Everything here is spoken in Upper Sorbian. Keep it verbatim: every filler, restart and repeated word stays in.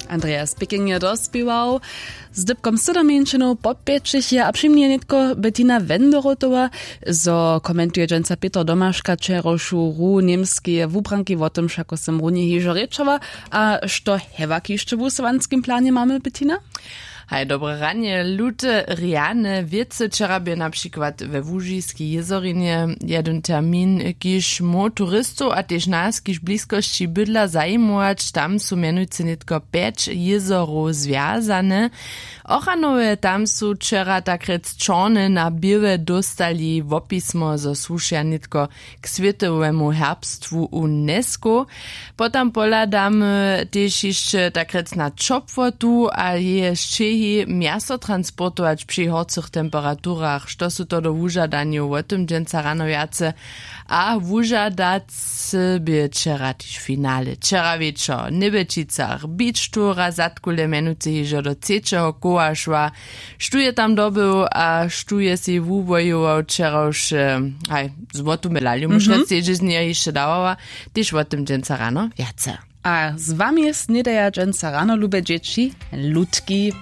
Andreas Picking je dospěwał z dypkom sydomjeńšinow popjećich je a při mnje nětko Bettina Wendorotowa. Zo komentuje dźensa Pětr Domaška wčerawšu ru němskeje wubranki, wo tym wšako sym runje hižo rěčała. A što hewak hišće w wusowanskim planje mamy, Bettina? Haj, dobre ranje. Lute rjane wěcy wčera bě na přikład we łužiskej jězorinje jedyn termin, kiž móhł turistow a tež nas, kiž w bliskosći bydla, zajimować. Tam su mjenujcy nětko pjeć jězorow zwjazane. Ochranowje tam su wčera takrjec čorne na běłe dóstali wopismo, zo słušeja nětko k swětowemu herbstwu UNESCO. Potom pohladamy tež hišće takrjec na ćopłotu a jeje sćěhi, mjaso transportować při horcych temperaturach, što su to do wužadanjow, wo tym dźensa rano wjace. A wužadacy bě wčera tež finale, wčera wječor w Njebjećicach beach tour a zadkule mjenujcy hižo do třećeho koła šła. Štó je tam dobył a štó je sej wuwojował wčerawše? Haj, złotu medalju móžka sej z njeho hišće dawała. Tež wo tym dźensa rano wjace. A z wami snědaja dźensa rano, lube dźěći, lutki.